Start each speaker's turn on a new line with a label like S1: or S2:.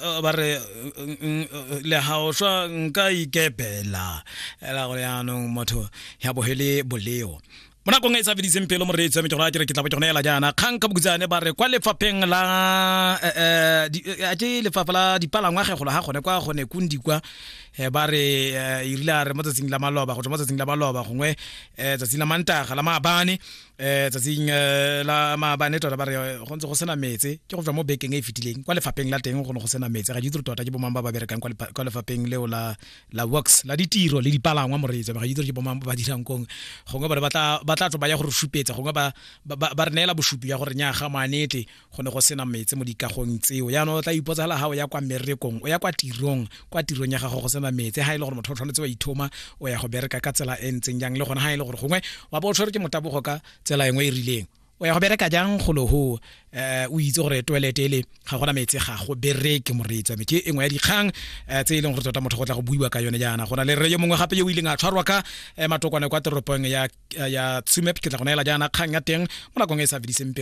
S1: Ba re le ga o swa nka ikepela ela gore yaanong motho ya bohele boleo mo nakong e e sa fediseng pelo. Moreetsi wa me, ke gore a kere ke tla bo ke gone ela jaana kgang ka bokutsane. Ba re kwa lefapheng la a ke lefapha la dipalangwa ge golo ga gone kwa gone kundi kwa, ba re e rile a re mo tsatsing la maloba, go tswa mo tsatsing la maloba gongwe tsatsing la Mantaga la maabane, tsatsing la maabane tota, ba re go ntse go sena metse. Ke go tswa mo bekeng e e fetileng kwa lefapheng la teng go ne go sena metse. Ga ke itse gore tota ke bomang ba ba berekang kwa lefapheng leo la works, la ditiro le dipalangwa. Moreetsi, ga ke itse gore ke bomang ba ba dirang kong. Gongwe bone ba tla tswa ba ya go re supetsa, gongwe ba re neela bosupi ya gore nyaa, ga moanete go ne go sena metse mo dikagong tseo. Jaanong o tla ipotsa fela, ga o ya kwa mmerekong, o ya kwa tirong, kwa tirong ya gago go sena metse, ga e le gore motho o tshwanetse wa ithoma o ya go bereka ka tsela e ntseng jang? Le gone ga e le gore gongwe wa bo o tshwerwe ke motabogo ka tsela engwe e rileng, o ya go bereka jang golo ho o itse gore toilet ele ga gona metsi, ga go bereke? Moreetsi wa me, ke engwe ya dikgang tse e leng gore tota motho go tla go buiwa ka yone jaana. Go na le rre yo mongwe gape yo o ileng a tshwarwa ka matokwane kwa toropong ya Tsumeb. Ke tla go neela jaana kgang ya teng mo nakong e e sa fediseng pelo.